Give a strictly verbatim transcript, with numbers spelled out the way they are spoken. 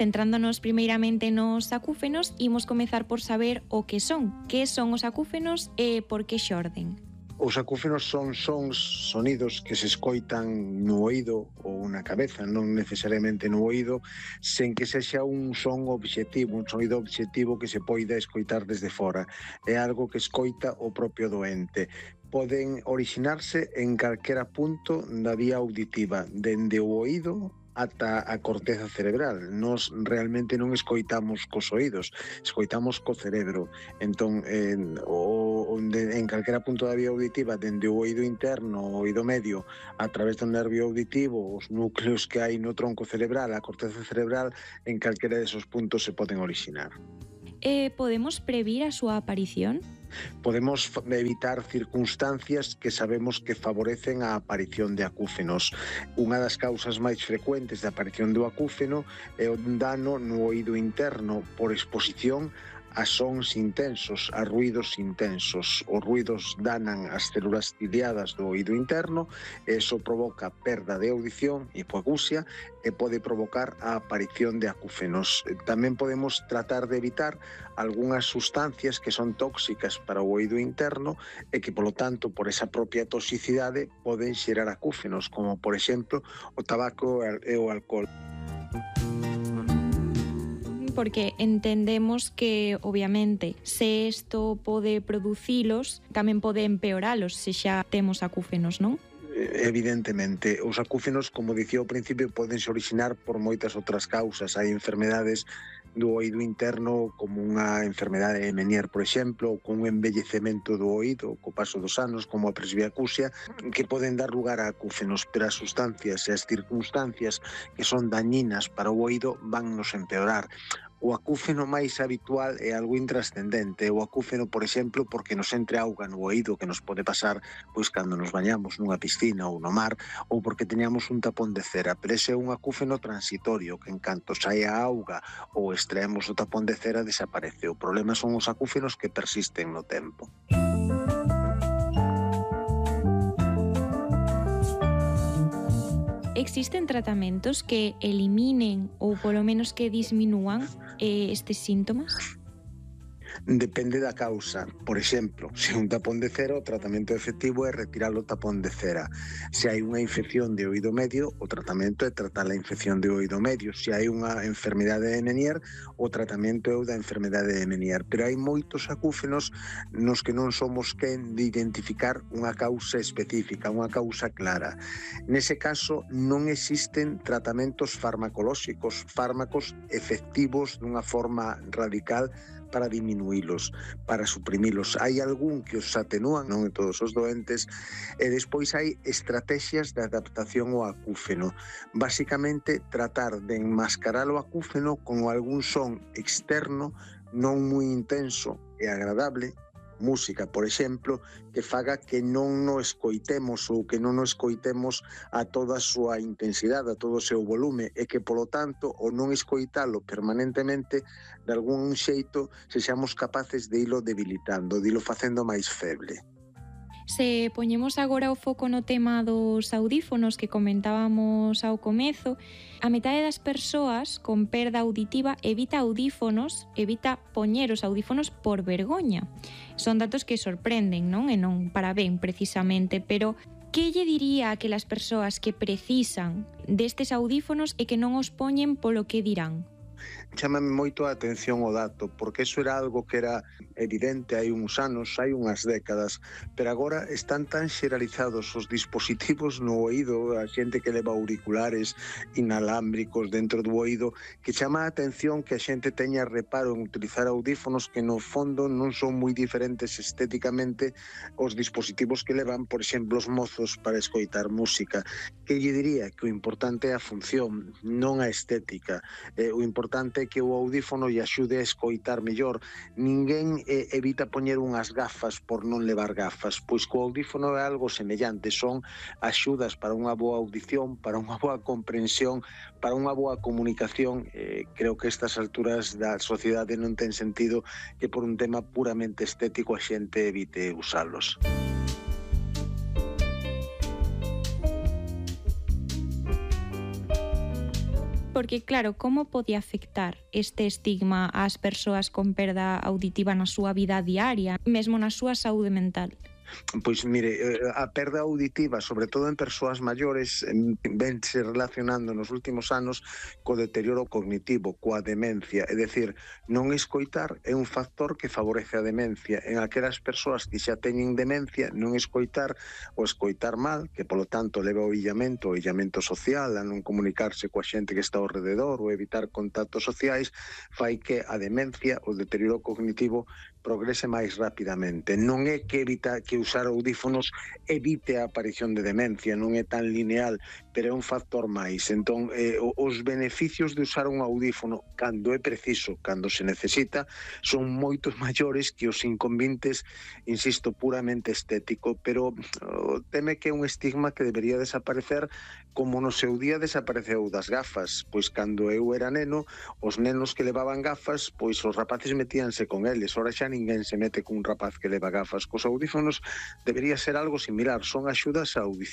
Centrándonos primeiramente nos acúfenos, imos comezar por saber o que son. Que son os acúfenos e por que xorden? Os acúfenos son sons, sonidos que se escoitan no oído ou na cabeza, non necesariamente no oído, sen que sexa un son obxectivo, un sonido obxectivo que se poida escoitar desde fora. É algo que escoita o propio doente. Poden orixinarse en calquera punto da vía auditiva, dende o oído ata a corteza cerebral. Nos realmente non escoitamos cos oídos, escoitamos co cerebro. Entón, en, o, de, en calquera punto da vía auditiva, dende o oído interno, o oído medio, a través do nervio auditivo, os núcleos que hai no tronco cerebral, a corteza cerebral, en calquera desos puntos se poden orixinar. Eh, podemos previr a súa aparición? Podemos evitar circunstancias que sabemos que favorecen a aparición de acúfenos. Unha das causas máis frecuentes de aparición do acúfeno é o dano no oído interno por exposición a sons intensos, a ruidos intensos. Os ruidos danan as células ciliadas do oído interno, e iso provoca perda de audición, hipoacusia, e pode provocar a aparición de acúfenos. Tamén podemos tratar de evitar algunhas sustancias que son tóxicas para o oído interno e que, polo tanto, por esa propia toxicidade, poden xerar acúfenos, como, por exemplo, o tabaco e o alcohol. Porque entendemos que, obviamente, se isto pode producilos, tamén pode empeoralos se xa temos acúfenos, non? Evidentemente, os acúfenos, como dicía ao principio, podense orixinar por moitas outras causas. Hai enfermedades do oído interno, como unha enfermedade de Menier, por exemplo, ou con un envellecemento do oído co paso dos anos, como a presbiacusia, que poden dar lugar a acúfenos, pero as sustancias e as circunstancias que son dañinas para o oído van nos empeorar. O acúfeno máis habitual é algo intrascendente. O acúfeno, por exemplo, porque nos entre auga no oído, que nos pode pasar pois cando nos bañamos nunha piscina ou no mar, ou porque teñamos un tapón de cera. Pero ese é un acúfeno transitorio, que en canto sae a auga ou extraemos o tapón de cera, desaparece. O problema son os acúfenos que persisten no tempo. Existen tratamentos que eliminen ou polo menos que disminúan eh, estes síntomas? Depende da causa. Por exemplo, se un tapón de cera, o tratamento efectivo é retirar o tapón de cera. Se hai unha infección de oído medio, o tratamento é tratar a infección de oído medio. Se hai unha enfermidade de Menier, o tratamento é o da enfermidade de Menier. Pero hai moitos acúfenos nos que non somos quen de identificar unha causa específica, unha causa clara. Nese caso, non existen tratamentos farmacolóxicos, fármacos efectivos dunha forma radical para diminuílos, para suprimilos. Hai algún que os atenúan, non en todos os doentes, e despois hai estrategias de adaptación ao acúfeno. Básicamente, tratar de enmascarar o acúfeno con algún son externo non moi intenso e agradable, música, por exemplo, que faga que non nos escoitemos ou que non nos escoitemos a toda a súa intensidade, a todo o seu volume, e que, polo tanto, o non escoitalo permanentemente, de algún xeito, sexamos capaces de ilo debilitando, de ilo facendo máis feble. Se poñemos agora o foco no tema dos audífonos que comentábamos ao comezo, a metade das persoas con perda auditiva evita audífonos, evita poñer os audífonos por vergoña. Son datos que sorprenden, non? E non para ben, precisamente, pero que lle diría a aquelas persoas que precisan destes audífonos e que non os poñen polo que dirán? Chámame moito a atención o dato, porque eso era algo que era evidente hai uns anos, hai unhas décadas, pero agora están tan xeralizados os dispositivos no oído, a xente que leva auriculares inalámbricos dentro do oído, que chama a atención que a xente teña reparo en utilizar audífonos que no fondo non son moi diferentes estéticamente os dispositivos que levan, por exemplo, os mozos para escoitar música. Que lle diría? Que o importante é a función, non a estética. Eh, o importante é que o audífono lle axude a escoitar mellor. Ninguén eh, evita poñer unhas gafas por non levar gafas, pois co audífono é algo semellante, son axudas para unha boa audición, para unha boa comprensión, para unha boa comunicación. Eh, creo que estas alturas da sociedade non ten sentido que por un tema puramente estético a xente evite usalos. Porque, claro, como pode afectar este estigma ás persoas con perda auditiva na súa vida diaria, mesmo na súa saúde mental? Pois mire, a perda auditiva, sobre todo en persoas maiores, vense relacionando nos últimos anos co deterioro cognitivo, coa demencia, é dicir, non escoitar é un factor que favorece a demencia. En aquelas persoas que xa teñen demencia, non escoitar ou escoitar mal, que polo tanto leva ao illamento, ao illamento social, a non comunicarse coa xente que está ao rededor ou evitar contactos sociais, fai que a demencia, o deterioro cognitivo, progrese máis rapidamente. Non é que evita que usar audífonos evite a aparición de demencia, non é tan lineal, pero é un factor máis. Entón, eh, os beneficios de usar un audífono cando é preciso, cando se necesita, son moitos maiores que os inconvenientes, insisto, puramente estético, pero oh, teme que é un estigma que debería desaparecer como no seu día desapareceu das gafas, pois cando eu era neno, os nenos que levaban gafas, pois os rapaces metíanse con eles, ora xa ninguén se mete cun rapaz que leva gafas. Cos audífonos debería ser algo similar, son axudas á audición.